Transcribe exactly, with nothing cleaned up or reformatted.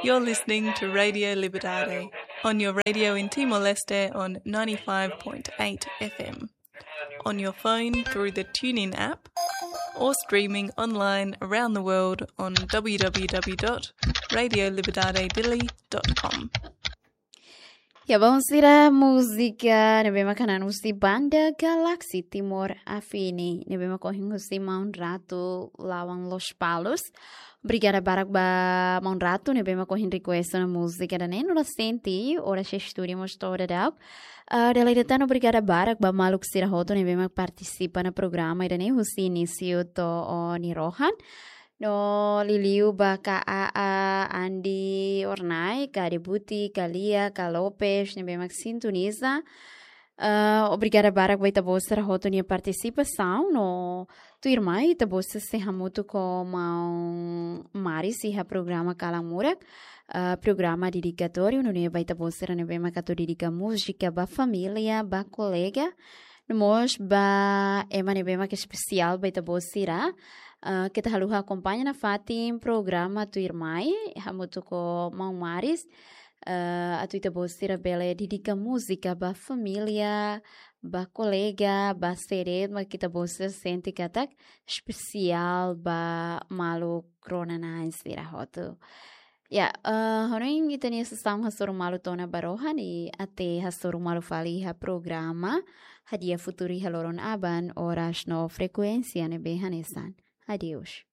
You're listening to Radio Liberdade on your radio in Timor-Leste on ninety-five point eight F M, on your phone through the TuneIn app, or streaming online around the world on w w w dot radio liberdade dili dot com. Ya, bom, sira múzika ne'ebé mak hanan husi banda Galaxy Timor Afini, ne'ebé mak ohin husi Maun Ratu Lawan Lospalos. Obrigada barak ba Maun Ratu ne'ebé mak ohin request ona múzika ida-ne'e, no la sente, ora se estúdio mós to'o daudaun. Ah, dala ida tan obrigada barak ba maluk sira hotu ne'ebé mak partisipa iha programa ida-ne'e husi inísiu to'o nia rohan. No liuliu ba Ka Aa, Andi Ornai, Ka Debuti, Ka Lia, Ka Lopes, ne'ebé mak sintoniza. Ah, obrigada barak ba ita-boot sira hotu nia partisipasaun, no tuirmai ita-boot sei hamutuk ho Maun Maris iha programa Kalan Murak, ah, programa dedikatóriu, nune'e ba ita-boot sira ne'ebé mak atu dedika múzika ba família, ba kolega, no mós ba ema ne'ebé mak espesiál ba ita-boot sira. Ah, keta haluha akompaña nafatin programa tuirmai, hamutuk ho Maun Maris, ah, atu ita-boot sira bele dedika múzika ba família, ba kolega, ba sé de'it mak ita-boot sira sente katak espesiál ba maluk rona-na'in sira hotu. Ya, eh, hanoin ita-nia sasán hasoru malu to'o ona ba rohan, i até hasoru malu fali iha programa Hadi'a Futuru iha loron aban, oras no frekuénsia ne'ebé hanesan. Adeus.